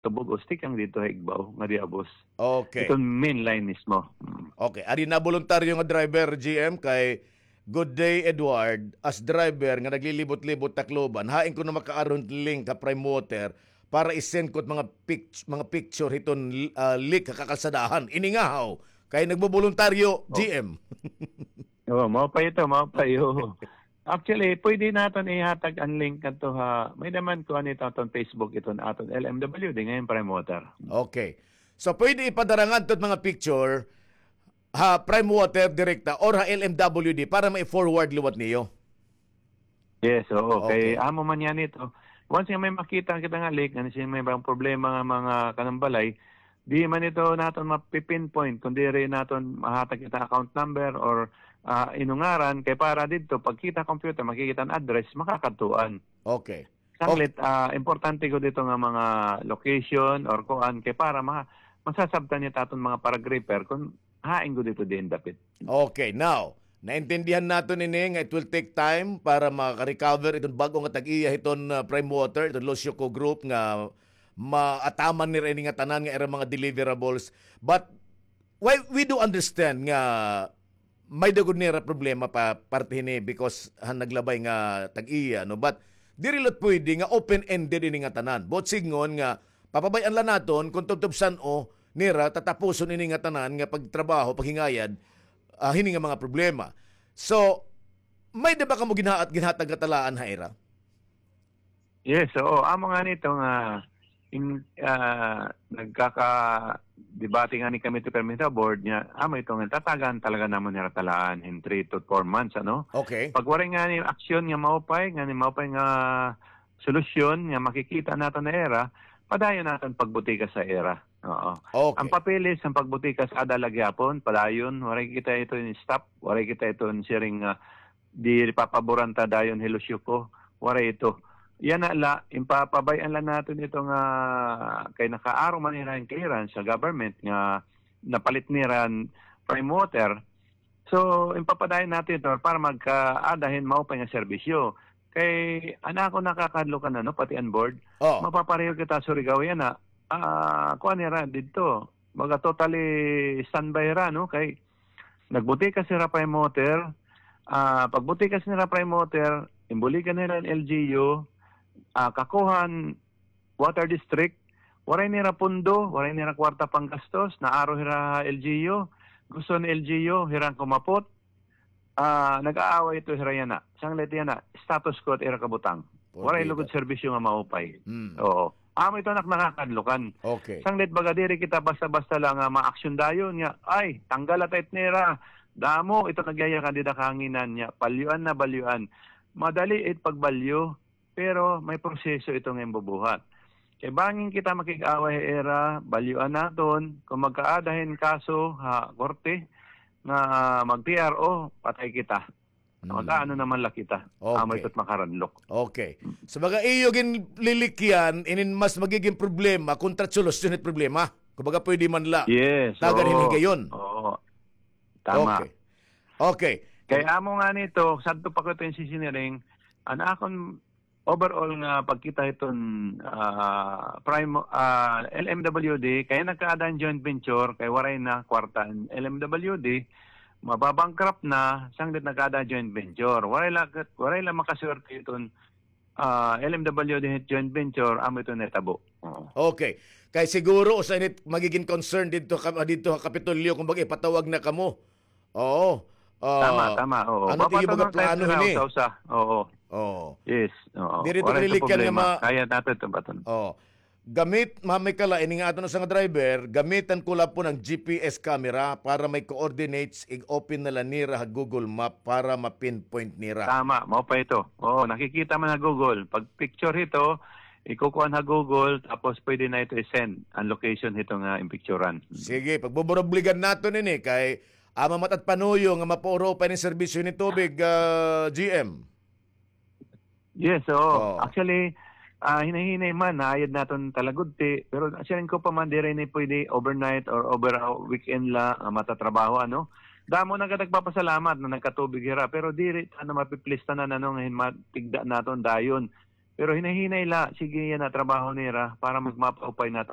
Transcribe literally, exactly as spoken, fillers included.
Tubog-os, tikang didto ha igbaw nga diabos. Okay. Iton main line mismo. Mm. Okay. Adi na boluntaryo nga driver, G M, kay Good Day Edward, as driver nga naglilibot-libot Tacloban, hain kuno makaaro hin link ha Prime Water para i-send ko it mga pict-, mga picture hiton, ah, leak ha kakalsadahan. Ini ngahaw, kay nagboboluntaryo, Oh. G M. Oo, mao pa ito, mao pa iyo. Actually, pwede naton ihatag an link ngadto ha, may-ada man kuan ito aton Facebook, iton aton L M W D, ngayon Prime Water. Okay. So, pwede ipadara ngadto it mga picture ha Prime Water direkta or ha L M W D para ma-forward liwat niyo? Yes, oo. Kay Okay. amo man yan ito. Once nga may makita kita nga leak, nga siya may bang problema nga mga kanang balay, di man ito naton mapi-pinpoint kung diri naton mahatag kita account number or, ah, inungaran, kay para didto, pagkita computer, makikita an address, makakadtuan. Okay. Sanglit, ah, importante gud ito nga mga location or kuan, kay para ma-, masasabtan niya ta aton mga paragripper kung hain gud ito diin dapit. Okay, now, naintindihan naton ini nga it will take time para maka-recover iton bag-o nga tag-iya hiton, ah, Prime Water, iton Losyoco Group nga maataman nira ini nga tanan nga ira mga deliverables. But why, we do understand nga may-ada gud nira problema pa parte hini because han naglabay nga tag-iya, no? But diri la pwede nga open-ended ini nga tanan. Buot sidngon nga papabay-an la naton kon tubtob san-o nira tatapuson ini nga tanan nga pagtrabaho, paghingayad, ah, hini nga mga problema. So, may-ada ba kamo ginha-, ginhatag nga talaan ha ira? Yes, oo. Amo ngani ito nga in, ah, nagkaka-debate ngani kami to permi sa board niya. Amo ito nga tatagan talaga namon nira talaan in three to four months, ano? Okay. Pag waray ngani aksyon nga maupay, ngani maupay nga solusyon nga makikita naton ha ira, padayon naton pagbutika sa ira. Oo. Okay. An papeles, an pagbutika sa ada la gihapon, padayon, waray kita ito in stop, waray kita ito in siring nga di papaboran ta dayon hi Losyoco, waray ito. Yana la, in papabay-an la naton ito nga kay nakaaro man nira hin clearance sa government nga napalit nira hin Prime Water. So, in papadayon naton ito para magkaada hin maupay nga serbisyo. Kay, an akon nakakahadlukan, ano, pati an board, Oh. mapapareho kita Surigao yana. Ah, kuan nira didto. Baga totally standby hira, no? Kay nagbutika sira Prime Water, ah, pagbutika nira Prime Water, imbuligan nira an L G U, ah, kakuha han water district, waray nira pondo, waray nira kwarta panggastos, naaro hira ha L G U, gusto han L G U hira an kumapot, ah, nag-aaway ito hira yana. Sanglit yana, status quo it ira kabutang. Waray lugod serbisyo nga maupay. Mm. Oo. Amo ito an ak nakakahadlukan. Okay. Sanglit baga diri kita basta-basta la nga maaksyon dayon nga, ay, tanggal la ta it nira. Damo ito nagyayakan dida kahanginan niya. Balyuan na, balyuan. Madali it pagbalyo, pero may proseso ito nga imbubuhat. Kay bangin kita makig-away ha ira, balyuan naton, kon magkaada hin kaso ha korte, nga mag-T R O, patay kita. Mm. Mag-aano naman la kita. Okay. Amo ito it makaranlok. Okay. So, baga iyo ginlilikyan, inin mas magigin problema kontra solusyon it problema. Kumbaga, pwede man la. Yes, tagan hin higayon. Oo. Tama. Okay. Okay. Kay amo ngani ito, sadto pa ko ito in sisiniring, an akon overall nga pagkita hiton, ah, Prime, ah, L M W D, kay nagkaada hin joint venture, kay waray na kwarta an L M W D, mababankrupt na, sanglit nagkaada joint venture. Waray la, waray la makaswerte hiton, ah, L M W D joint venture, amo ito nahitabo. Oo. Okay. Kay siguro, usa ini it magigin concern didto ka-, didto ha Kapitolyo, kumbaga, ipatawag na kamo. Oo. Ah, tama, tama, oo. Ano it iyo baga plano hini? Usa-usa. Oo. Oo. Yes, oo. Diri ito kalilikyan nga ma-, kaya naton ito baton. Oo. Gamit, Ma'am Mikala, ini nga aton usa nga driver, gamitan ko la po ng G P S camera para may coordinates, i-open na la nira ha Google Map para ma-pinpoint nira. Tama, mao pa ito. Oo, nakikita man ha Google. Pag picture ito, ikukuan ha Google, tapos pwede na ito i-send ang location hito nga impicturan. Sige, pagbuburubligan naton ini kay Ama, matad panuyo nga mapauro pa ini serbisyo ni tubig, ah, G M. Yes, oo. Oo. Actually, ah, hinay-hinay man, naayad naton talagudti. Pero siring ko pa man, diri ni pwede overnight or over a weekend la, ah, matatrabaho, ano. Damo na gad nagpapasalamat na nagkatubig hira, pero diri ta na mapi-please tanan, ano, nga hin-, matigda naton dayon. Pero hinay-hinay la, sige yana trabaho nira para magmapaupay naton